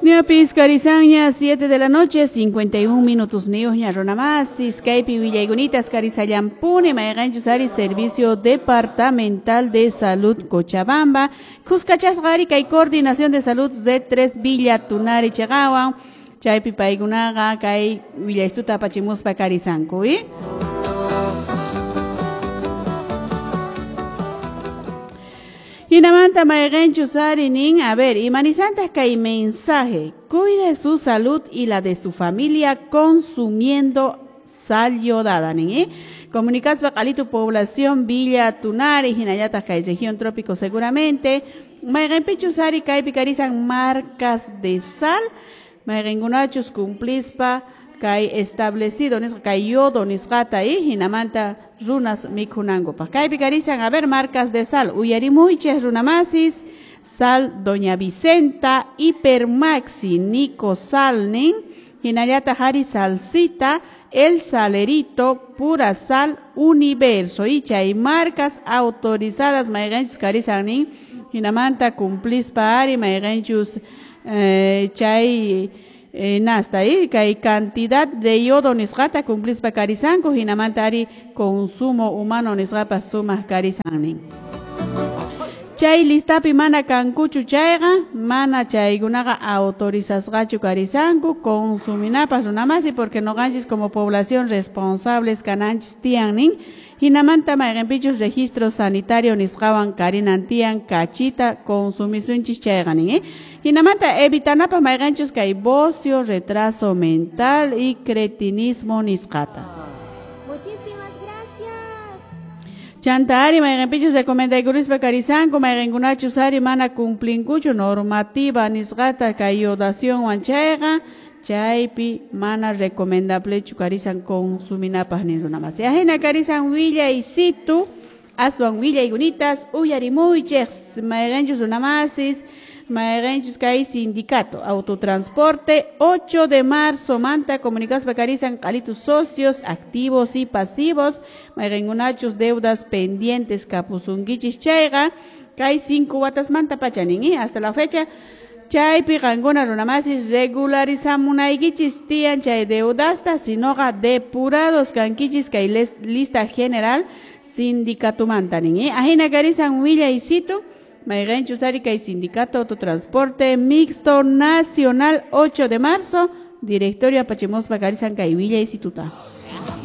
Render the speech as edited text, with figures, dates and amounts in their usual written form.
Ñapis karisanña 7 de la noche 51 minutos niyuqña runamasis kaypi willaykunitas karisallampuni mayqanchus ari Servicio Departamental de Salud Cochabamba kuskachasqa ari kay Coordinación de Salud Z3 Villa Tunari chaqawan chaypi paykunaqa kay willaystuta apachimuspa karisanku Hinamanta mayqanchus ari nin, a ver, imanisantaq kay mensaje, cuide su salud y la de su familia consumiendo sal yodada nin, Comunicaspa q'alitu población Villa Tunari, hinallataq kay región trópico seguramente, mayqanpichus ari kaypi karisan marcas de sal, mayqankunachus cumplispa kay establecido nisqa kay yodo nisqata hinamanta runas mikhunankupaq kaypi karisan a ver marcas de sal uyarimuychis runamasis sal Doña Vicenta, Hipermaxi, Nico Sal nin, hinallataq ari salsita, El Salerito, Pura Sal, Universo y chay marcas autorizadas mayqanchus karisan nin, hinamanta cumplispa ari mayqanchus chay nasta kay cantidad de yodo nisqata cumplispa karisanku hinamanta ari consumo humano nisqapas sumaq karisan nin. Chay listapi mana kankuchu chayqa mana chaykunaqa autorizasqachu karisanku consuminapas runamasi porque noqanchis como población responsables kananchis tiyan nin hinamanta mayqanpichus registro sanitario nisqawan karinan tiyan kachita consumisunchis chayqa nin hinamanta evitanapaq mayqanchus kay bocio, retraso mental y cretinismo nisqata. Muchísimas gracias. Chanta ari mayqanpichus recomendaykurispa karisanku mayqankunachus ari mana cumplinkuchu normativa nisqata kay yodacionwan chayqa chaypi mana recomendablechu karisan consuminapaq nin runamasi. Ajina karisan willaysitu aswan willaykunitas uyarimuychis mayqanchus runamasis mayqanchus kay sindicato autotransporte 8 de marzo manta comunicaspa karisan q'alitu socios activos y pasivos mayqankunachus deudas pendientes kapusunkichis chayqa kay 5 watasmanta pacha nin hasta la fecha chaypi qankuna runamasis regularizamunaykichis tiyan chay deudasta sinoqa depurados kankichis kay lista general sindicatumanta nin ajina karisan willaysitu mayqanchus ari kay sindicato autotransporte mixto nacional 8 de marzo directorio apachimuspa karisan kay willaysituta.